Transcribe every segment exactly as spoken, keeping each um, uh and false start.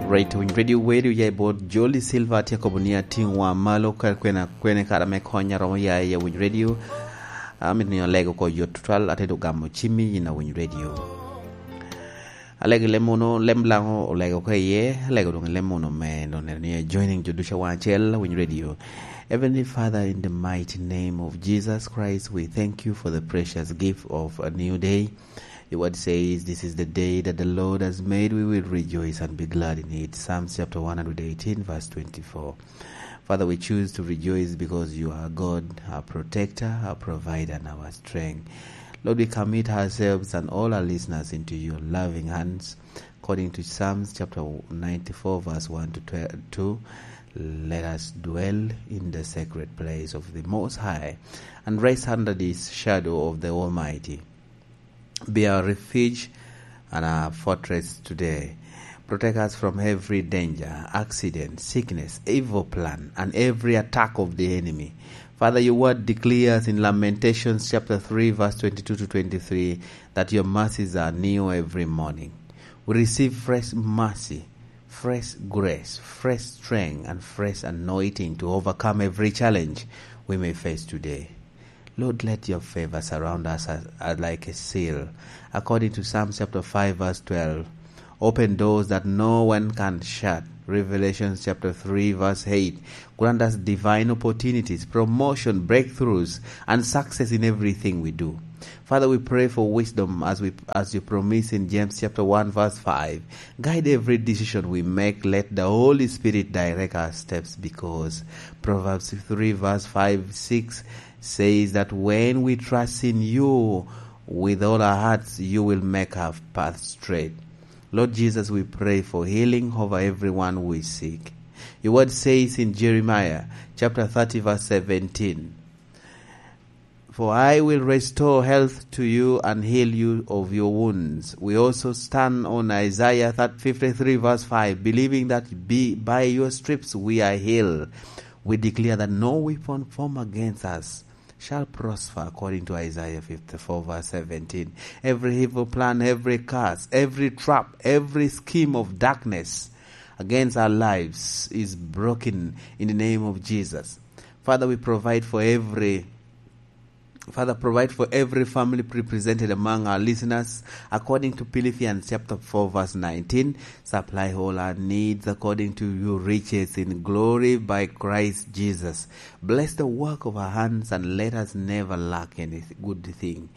Right, Winy Radio, Winy Radio ya i bot Jolly Silver, tye kobo ni atiŋ wa malo ka kwena, kwene kara me konya romo ya i Winy Radio. Amit ni alego ko yot tutwal, ate do gamo cimmi yin a Winy Radio. Alego lem mono, lem laŋo olego ko iye, alego doŋ lem mono me, doŋ neno ni joining jo ducu a waŋ acel, Winy Radio. Heavenly Father, in the mighty name of Jesus Christ, we thank you for the precious gift of a new day. Your word says, "This is the day that the Lord has made. We will rejoice and be glad in it." Psalms chapter one hundred eighteen, verse twenty-four. Father, we choose to rejoice because you are God, our protector, our provider, and our strength. Lord, we commit ourselves and all our listeners into your loving hands. According to Psalms chapter ninety-four, verse one to twelve, two, let us dwell in the sacred place of the Most High and rest under this shadow of the Almighty. Be our refuge and our fortress today. Protect us from every danger, accident, sickness, evil plan, and every attack of the enemy. Father, your word declares in Lamentations chapter three, verse twenty-two to twenty-three, that your mercies are new every morning. We receive fresh mercy, fresh grace, fresh strength, and fresh anointing to overcome every challenge we may face today. Lord, let your favor surround us as, as like a seal. According to Psalm chapter five, verse twelve, open doors that no one can shut. Revelation chapter three, verse eight, grant us divine opportunities, promotion, breakthroughs, and success in everything we do. Father, we pray for wisdom as we, as you promise in James chapter one, verse five. Guide every decision we make. Let the Holy Spirit direct our steps, because Proverbs three, verse five, six says that when we trust in you with all our hearts, you will make our path straight. Lord Jesus, we pray for healing over everyone who is sick. Your word says in Jeremiah chapter thirty, verse seventeen, "For I will restore health to you and heal you of your wounds." We also stand on Isaiah fifty-three, verse five, believing that be, by your stripes we are healed. We declare that no weapon formed against us shall prosper, according to Isaiah fifty-four, verse seventeen. Every evil plan, every curse, every trap, every scheme of darkness against our lives is broken in the name of Jesus. Father, we provide for every Father, provide for every family represented among our listeners, according to Philippians chapter four, verse nineteen. Supply all our needs according to your riches in glory by Christ Jesus. Bless the work of our hands and let us never lack any good thing.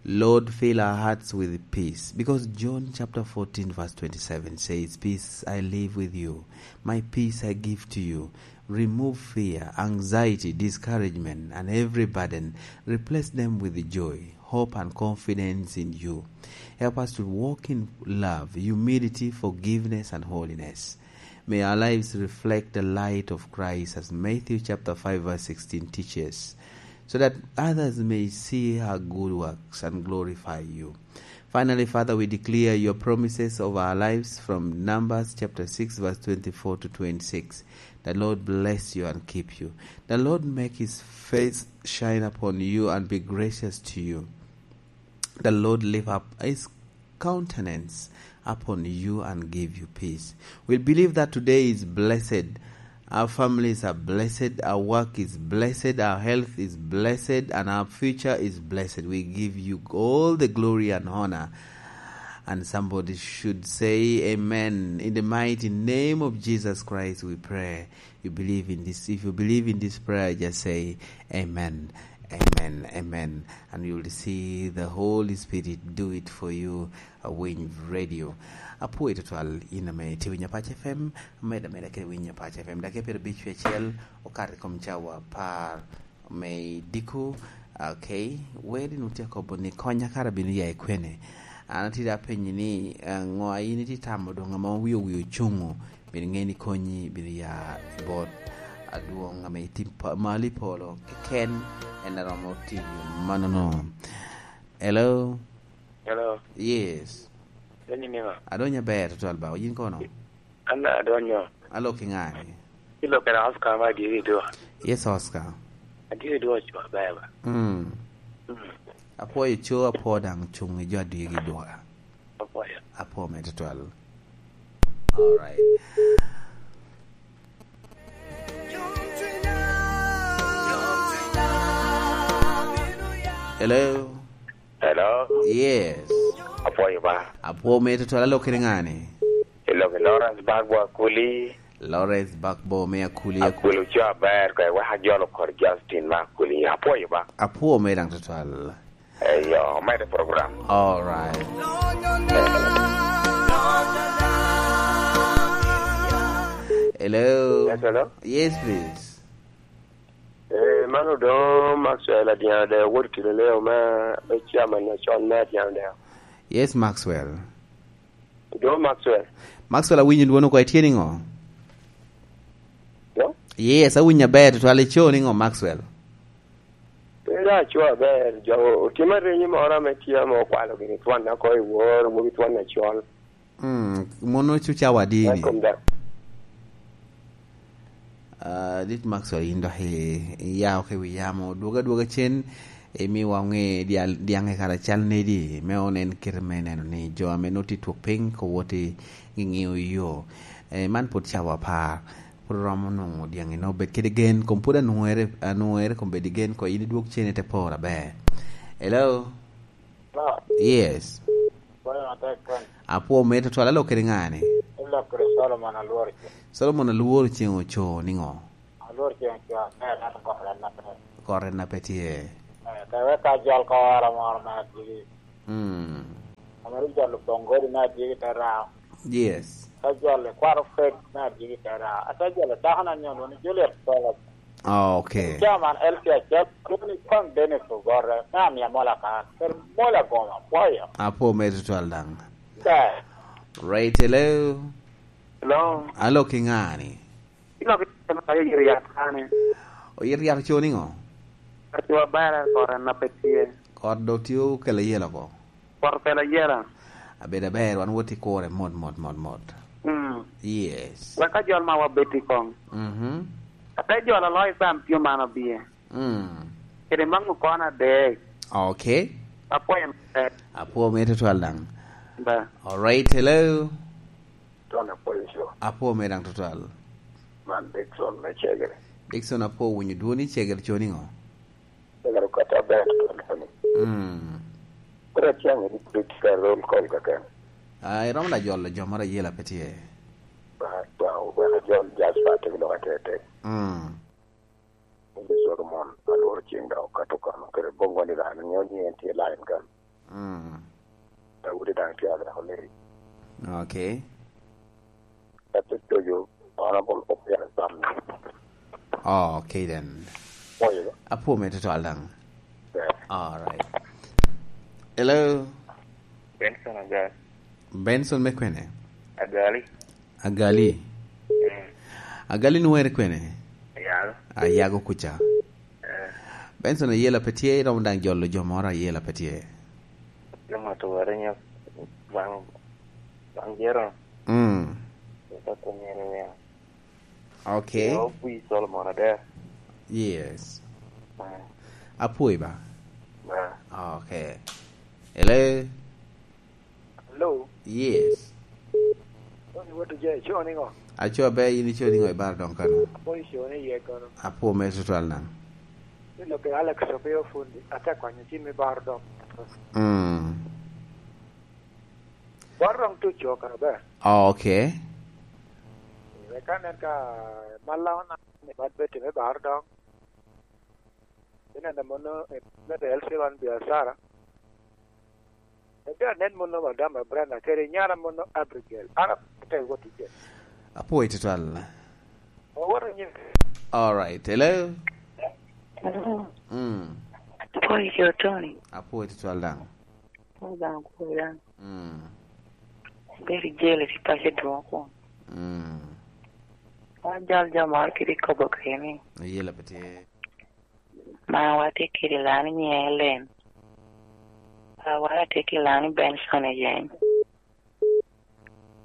Lord, fill our hearts with peace, because John chapter fourteen, verse twenty-seven says, "Peace I leave with you, my peace I give to you." Remove fear, anxiety, discouragement, and every burden. Replace them with joy, hope, and confidence in you. Help us to walk in love, humility, forgiveness, and holiness. May our lives reflect the light of Christ, as Matthew chapter five, verse sixteen teaches, so that others may see our good works and glorify you. Finally, Father, we declare your promises over our lives from Numbers chapter six, verse twenty-four to twenty-six. The Lord bless you and keep you. The Lord make his face shine upon you and be gracious to you. The Lord lift up his countenance upon you and give you peace. We believe that today is blessed. Our families are blessed, our work is blessed, our health is blessed, and our future is blessed. We give you all the glory and honor. And somebody should say, "Amen." In the mighty name of Jesus Christ, we pray. You believe in this? If you believe in this prayer, just say, "Amen, amen, amen." And you will see the Holy Spirit do it for you. Awiny Radio. Apwoyo tutwal in ame itye winyo Apac F M, med ameda kede winyo Apac F M. Dakika pyerabic wiye acel okato i kom cawa apar me diko. Okay, weri nu tye akobo ni, "Konya kara bino ya i kwene?" An atye da apenyi ni, eh, "Ŋo a in itye tamo doŋ ame owio wi ocuŋo?" Bino ŋe ni konyi bino ya i bot adwoŋ ame itye pa-, malo i polo keken, en a romo tiyo mannono. Hello? Hello. Yes. Donyo niŋa? Adonyo aber tutwal ba, yin kono? An adonyo. Alo ki ŋa ni? Ilo kena Oscar ma adiri dwa. Yes, Oscar. Adiri dwa cwa beba. Mm. Mm. Apwoyo co, apwo daŋ cuŋ i jo adwigi dwa. Apwoyo. Apwo me tutwal. All right. Hello. Hello. Yes. Apwoyo ba. Apwo me tutwal, alok kede ŋani? Ilok i Lawrence Bagbo Akuli. Lawrence Bagbo me Akuli. Akuli oco aber ka iwek ajolo kor Justin ma Akuli. Apwoyo ba. Apwo me daŋ tutwal. Eyo, omedde program. All right. Hello. Yes, hello. Yes, please. Eh, man Odoŋo Maxwell Adyaŋ Adeo, wot i Kiloleo me, me chairman acon me Adyaŋ Adeo. Yes, Maxwell. Odoŋo Maxwell. Maxwell, awinyo dwoni oko, itye niŋo? Hello? Yes, awinyo aber tutwal. Ico niŋo, Maxwell? Pe dok aco aber, jo otima reny moro ame tye ame okwalo gini twon ako i wor, mogo twon acol. Mm, mono cu cawa adi ni? Welcome back. Ah, dit Maxwell, in dok i-, iya oko i wi yamo. Dwogo adwoga cen, imiwa oŋe dyal-, dyaŋe kara cal nedi, me onen kite me neno ni jo ame nongo tye twok piny, ko wot i ŋiŋio yo. Eh, man pwod cawa apar. Pwod oromo nwoŋo dyaŋe nongo obed kede gen, kom pwod anwoŋere, anwoŋere kom bed i gen, ko in idwog cen ite poro aber. Hello? Hello? Yes. Apwo me tutwal, alok kede ŋani? Ilok kede Solomon Alwor Ceng. Solomon Alwor Ceng oco niŋo? Alwor Ceng oco aber, ento kore en na pe. Kore en na pe tye. Eh, ka wek ka jol koro moro me adiki. Mm. Ame rik jol Bongodi me adiki te rao. Yes. Te jol i kwaro Fred me adiki te rao. Ate jol i dako na nyodo ni Juliet Solomon. Ah, okay. Chairman L C H F, Tony Kong Dennis Ogorre, me Amia Mola Kan, kede Mola Goma, apwoyo. Apwo me tutwal daŋ. Ber. Right, hello. Hello. Alok i ŋani? Ilok i ŋani, oyito yat kane. Oyito yat oco niŋo? Aco aber, kore na pe tye. Kot do tye okelo yelo oko. Poto pela yela. Abedo aber, wan wot i kure mot, mot, mot, mot. Mm. Yes. Wek ka jol ma wabed i kong. Mhm. Ate jol aloyo sam tye man obie. Mm. Kede maŋ okona adek. Okay. Apwoyo matek. Apwo me tutwal daŋ. Ba. All right, hello. Tony apwoyo co. Apwo me daŋ tutwal. Man Dickson me Cegere. Dickson, apwo winyo dwoni. Cegere co niŋo? Cegere kata ber tutwal koni. Mm. Kore acang ni pwod tye ka roll call keken. Ah, iromo da jolo jo moro ayela pe tye. Ba, ba, wek ajol Jasper te biloko atek. Mm. Onyi Solomon, alworo ceng daŋ okato kano, kede Bongo ni daŋ nio ni en tye line kan. Mm. Daudi daŋ tye adako leri. Okay. Ate tojo, Honorable Opiara Sam. Oh, okay then. Oyo. Apwo me tutwal daŋ. Yeah. All right. Hello. Benson Agali. Benson me kwene? Agali. Agali. Mm. Agali nwoŋere kwene? Ayago. Ayago kuca. Eh. Benson, ayela pe tye, iromo daŋ jolo jo moro ayela pe tye. Joma tuwere nyo bang, bang jero. Mm. Eka kumyere wia. Okay. Yo pwi Solomon Adair. Yes. Mm. Apwoyi ba? Ba. Okay. Hello? Hello? Yes. Tony Wot Ojee, ico niŋo? Aco ber, in ico niŋo i bar doŋ kano? Apwoyo co ni iye kono. Apwo me tutwal daŋ. Ni lok i Alex Opio Fundi, ate kwanyo cim i bar doŋ. Mm. Bar doŋ tuco kara ber. Oh, okay. Wek anen ka malla ona ni bad beti me bar doŋ. Ineno mono, eh, me L C one biacara. Ebe anen mono Madam Brenda, kede nyara mono Abigail. An apwoyo wot i je. Apwoyo tutwal. Owoto nyim. All right. Hello? Hello. Mm. Apwoyo jo, Tony. Apwoyo tutwal daŋ. Apwoyo daŋ, apwoyo daŋ. Mm. Bedo i jele ki paco dwoŋ kwon. Mm. Wan jal jo moro kede kobo kene. Ayela pe tye. Ma watye kede lani nyiŋe Ellen. A, watye kede lani Benson i Jeng.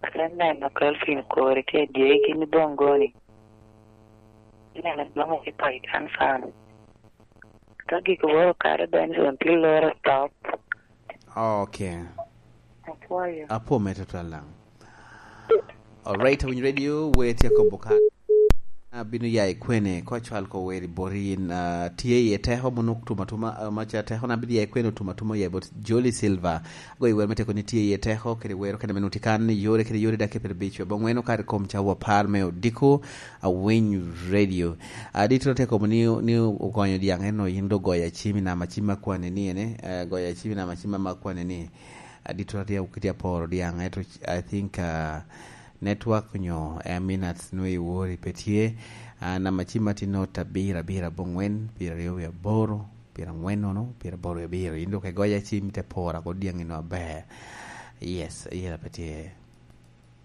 Ate neno Kelvin Kori tye dyegi ni Bongoni. Ineno dwoŋ i Paitan Farm. Ka gik woro kare Benson tye loro top. Okay. Apwoyo. Apwo me tutwal daŋ. Alright, Awiny Radio, we tye akobo ka. Abino ya i kwene, ko cwal ko weri bori in, ah, tye iye teko, mono tuma tuma, ah, maca teko na bino ya i kwene, tuma tuma ya bot Jolly Silver. Go i wer me teko ni tye iye teko, kede wero kede meno tikan ni yore kede yore dake per bic, bo ngweno kare kom ca wapar me odiko, Awiny Radio. Adito teko ni, ni ogonyo diang eno, yin do goyo acim i nama acim ma kwane ni ene, eh, goyo acim i nama acim ma kwane ni. Adito tye kiti aporo diang, eto I think, ah, network nyo, eh, minutes nwe i wori pe tye. Ah, nama cim ma tye not abiro abiro abongwen, pyeraryo wie aboro, pyerangwen nono, pyeraboro wie abiro. Yin dok igoyo acim te pora ko diang ino aber. Yes, yela pe tye.